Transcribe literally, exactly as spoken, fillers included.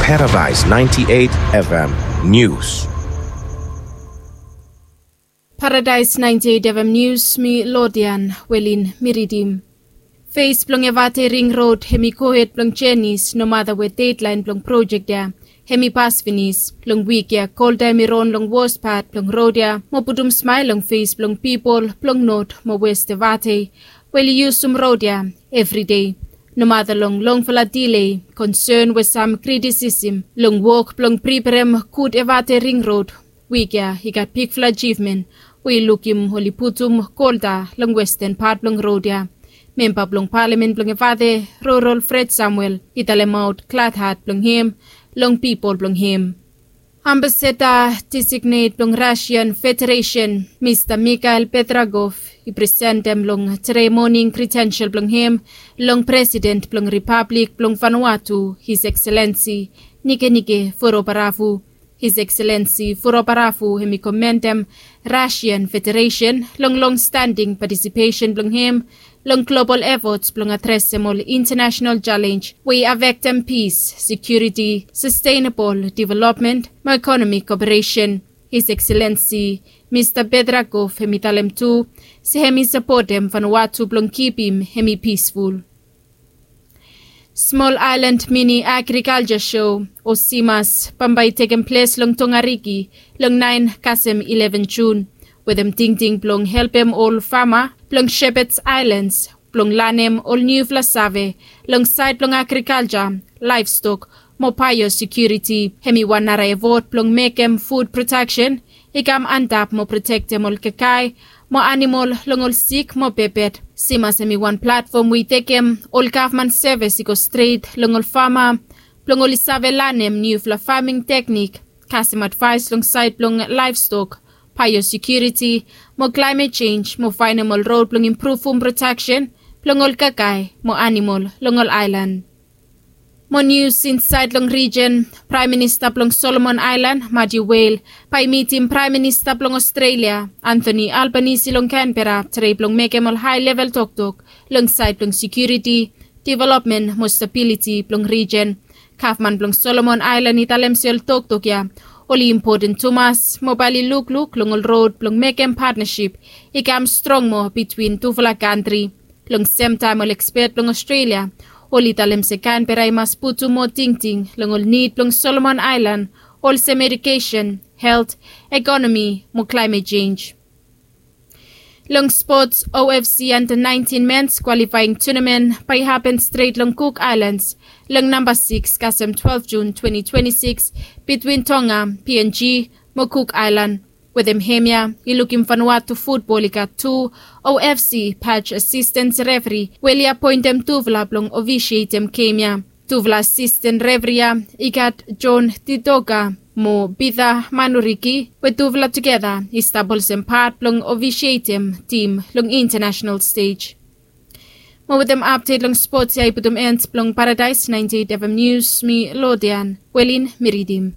Paradise ninety-eight F M News. Paradise ninety-eight F M News, mi Lodian Welin mi ridim. Fes blong Evate Ring Rod hem i gohed blong jenis, nomata we dedlaen blong projek ya hem i pas finis. Long wik ya, Kolta hem i ron long wos pat blong rod ya mo putum smael long fes blong pipol blong Nod mo Wes Evate we oli yusum rod ya evri dei. Nomata long longfala dilei, konsen we sam kritisim long wok blong priperem gud Evate Ring Rod, wik ya i gat bigfala ajivmen we i lukim oli putum Kolta long westen pat blong rod ya. Memba blong palamen blong Evate, Rorol Fred Samuel, i talemaot gladhat blong hem long pipol blong hem. Ambasada designet blong Rusian Federesen, Mista Mikhail Petragov, i presentem long tere moning kritensel blong hem long Presiden blong Ripablik blong Vanuatu, His Excellency Nikenike Vurobaravu. His Excellency Vurobaravu hem i komendem Rusian Federesen long longstanding patisipesen blong hem long global efots blong adresem ol intanasenal jalenj we i afektem pis, sekiuriti, sastenabol developmen mo ekonomik koperesen. His Excellency Mista Petragov hem i talem tu se hem i sapotem Vanuatu blong kipim hem i pisful. Smol Aelan Mini Agrikalja Sho, o SIMAS, bambae i tekem ples long Tongariki long naen kasem ileven Jun, wetem tingting blong helpem ol fama blong Shepherds Islands blong lanem ol niufala save long saed blong agrikalja, laevstok mo baeosekiuriti. Hem i wan nara efot blong mekem fud prodaksen i kam antap mo protektem ol kakae mo anamol long ol sik mo pepet. SIMAS hem i wan platfom we i tekem ol gavman sevis i go stret long ol fama blong oli save lanem niufala faming teknik, kasem advaes long saed blong laevstok, baeosekiuriti mo klaemet jenj mo faenem ol rod blong impruvum prodaksen blong ol kakae mo anamol long ol aelan. Mo nius insaed long rijen, Praem Minista blong Solomon Aelan, Matthew Wale, bae i mitim Praem Minista blong Ostrelia, Anthony Albanese, long Canberra, tere blong mekem ol hae level toktok long saed blong sekiuriti, developmen mo stabiliti blong rijen. Gavman blong Solomon Aelan i talem se ol toktok ya oli impoten tumas mo bae oli lukluk long ol rod blong mekem patnasip i kam strong moa bitwin tufala kantri. Long semtaem ol ekspet blong Ostrelia oli talem se Canberra i mas putum moa tingting long ol nid blong Solomon Aelan, olsem edukesen, helt, ekonomi mo klaemet jenj. Long spots, OFC Under nineteen Men's Qualifying Tournament bae i hapen stret long Cook Islands long namba sikis kasem twelve June twenty twenty-six, bitwin Tonga, PNG, mo Cook Island. Wetem hemia i lukim Vanuatu futbol i gat tu OFC patch asistens refri we oli apoentem tufala blong ofisietem gem ya. Tufala asisten refri ya i gat John Titoka mo Peter Manuriki, we tufala tugeta i stap olsem pat blong ofisietem tim long intanasenal stej. Mo wetem apdet long spots ya i putum en blong Paradise ninety-eight FM News, mi Lodian Welin mi ridim.